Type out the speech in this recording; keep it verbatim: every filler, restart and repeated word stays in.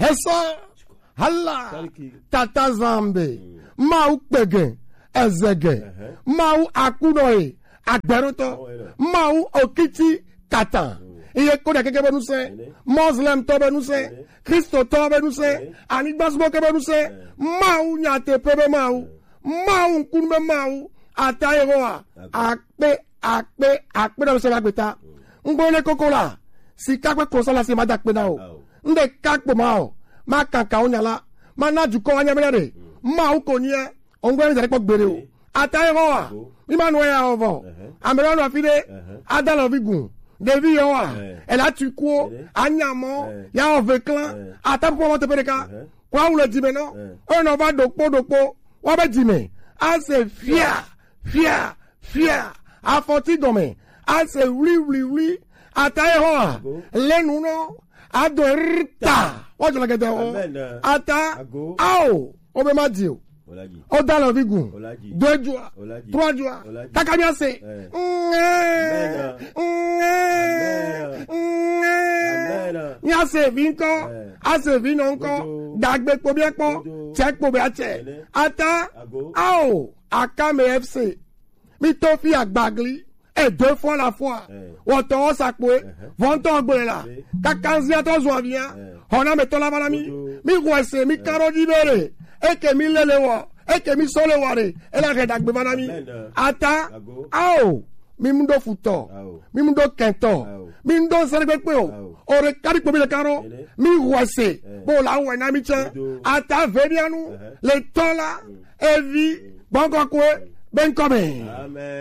Esa. Hala. Tata Zambe. Mawu kpege. Ezege. Mawu akuno e. Agberotɔ. Mawu okiti kata. Iye ko ɖe keke be nusẽ. Muslim tɔ be nusẽ. Kristo tɔ be nusẽ. Anigba sugbɔ ke be nusẽ. Mawu nyateƒe be Mawu. Mawu ŋkunu be Mawu. Ata Yehowa. Akpe, akpe, akpe na be se be agbe ta. Ŋgbo ne koko la. Sika kple klosala si ma da akpe na o. Ŋɖe ka kpo ma o. Ma kaka wo nya la. Ma na dukɔ wa nya be ɖe. Mawu ko nia. Ongwe mi dare kpɔ gbeɖe o. Ata ye wa. Mi ma nɔ ya o vɔ. Ame ɖe nɔ afi ɖe. Ada lɔ vi gun. Ɖevi yɔ wa. Ela tu kuo. Anyamɔ. Ya o ve klan. Ata pɔ mɔ teƒe ɖeka. Kɔ awu le dzime nɔ. Oye nɔ va ɖokpo ɖokpo. Wa be dzime. Ase fia. Fia. Fia. Afɔti gɔme. Ase wli wli wli. Ata ye wa. Le nu nɔ. Ado rita. Wa jɔ le gɛdɛ o. Ata. Ao. O be ma di o. O da lɔ vi gun. Do ejua. Trɔ ejua. Kaka mi ase. Mi ase vi ŋkɔ. Ase vi nɔ ŋkɔ. Dagbe kpo bi kpɔ. Tsɛ kpo bi atsɛ. Ata. Ao. Akame F C. Mi to fi agbagli. Et deux fois la fois. Wɔtɔ wɔ sakpoe. Vɔntɔ gbe la. Kakanzia tɔ zɔ avia. Hɔna me tɔ la vana mi. Mi wɔ se mi karo di bere. Eke mi lele wɔ. Eke mi sole wɔ re. Ela he dagbe vana mi. Ata. Ao. Mi mu do futɔ. Mi mu do kɛntɔ. Mi mu do sere gbegbe o. O re kari kpo mi le karo. Mi wɔ se. Bo la wɔ na mi tsɛ. Ata ve mi anu. Le tɔ la. Evi. Gbɔngɔ kue. Be ŋkɔ me.